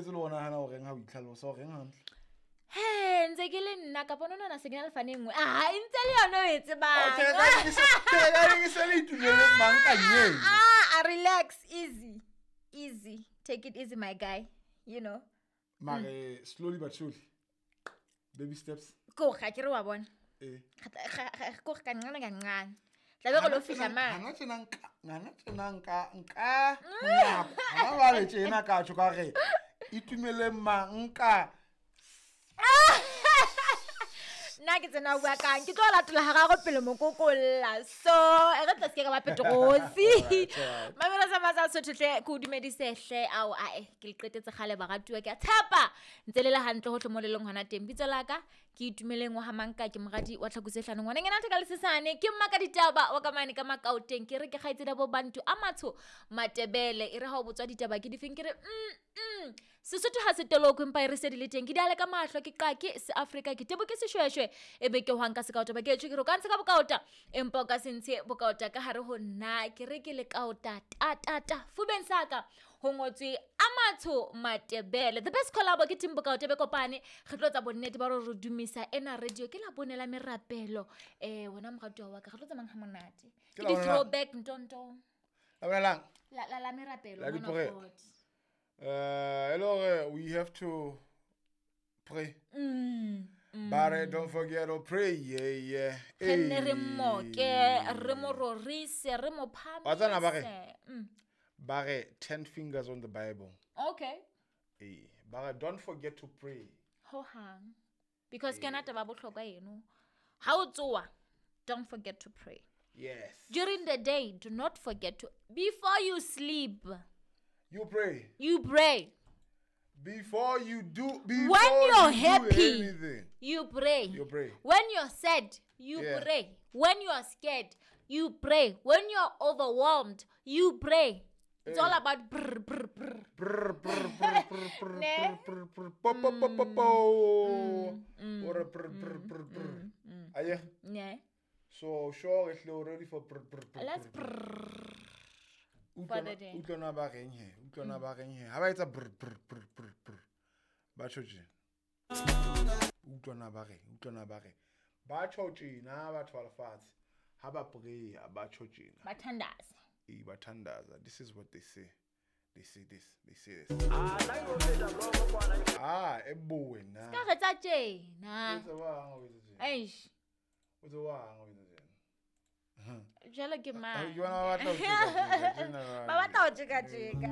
Utlweletse le ona hana o reng ha o itlhalosa o reng hantle. He, ntse ke le nna kapa no nana se ke na le fane e nngwe. Ah, ntse le yona o e tsebang. Okay, ka ke se le itumeleng mang ka nyeng. Ah, relax, easy. Easy. Take it easy, my guy. You know. Mare slowly but surely. Baby steps. Ko ga ke re wa bona. Eh. Ko ga kancane kancane. Tla be go lo fihla mane. Hana tjena nka, hana tjena nka, nka. Hana ba le tjena ka tjho ka re itumeleng mang ka. Nna ke tsena bua kang ke tlo latola ga gago pele mokokolla so e re tla se ke ka ba petrosi mamelo sa matsa sothotle ke o dumedisehle ao ae ke le qetetse kgale baratuwa ke a tshepa ntse le le hantle hohle mo le leng hona teng. Bitso la ka ke itumeleng wa hamanka ke moradi wa tlhakose hlano ngwana ngena thaka le sesane ke mma ka ditaba wa ka mane ka makaoteng ke re ke kgaitsedi bo bantu a matsho matebele e re ha o botswa ditaba ke difeng ke re Sesotho ha se toloko empa e re se di le teng ke diale ka mahlo ke qake se Afrika ke tebo ke seshweshwe e be ke hwang ka sekaota ba ke tjho ke re o ka ntshe ka bokaota empa o ka se ntshe bokaota ka hare ho nna ke re ke le kaota ta ta ta fubeng saka ho ngotswe Amatsho Matebele the best collabo ke team bokaota be kopane re tlo tsa bonnete ba re dumisa ena radio ke la bonela merapelo wena moratuwa wa ka re tlo tsamang ha monate ke di throwback ntonto la bonelang la la la merapelo la hello, we have to pray. But don't forget to pray. Yeah, yeah. Re re moke, re mo rorise, re mo phamise. Bare 10 fingers on the Bible. Okay. Eh, bare don't forget to pray. Ho hang. Because ke na taba bohlokwa eno. Ha o tsoa, don't forget to pray. Yes. During the day, do not forget to before you sleep. You pray. You pray. Before you do, before when you're you happy, do anything, you pray. You pray. When you're sad, you pray. When you're scared, you pray. When you're overwhelmed, you pray. It's all about brr brr brr. Brr brr brr brr brr brr brr po po po po po. Or brr brr brr brr. Aye. Yeah. So sure, if you're ready for brr brr brr. Let's brr. Utlwana ba reng he, utlwana ba reng he. Ha ba etsa brr brr brr brr brr. Ba tjho tjena. Utlwana ba reng, utlwana ba reng. Ba tjho tjena batho ba lefatshe. Ha ba pray, ba tjho tjena. Ba thandaza. Eh, ba thandaza. This is what they say. They say this. They say this. Ah, e bowe na. Ska re tsa tjena. O tsa wa o tsa tjena. Eish. O tsa wa o tsa tjena. Jalo ke mang? Ba batla ho tjeka tjeka. Ba batla ho tjeka tjeka.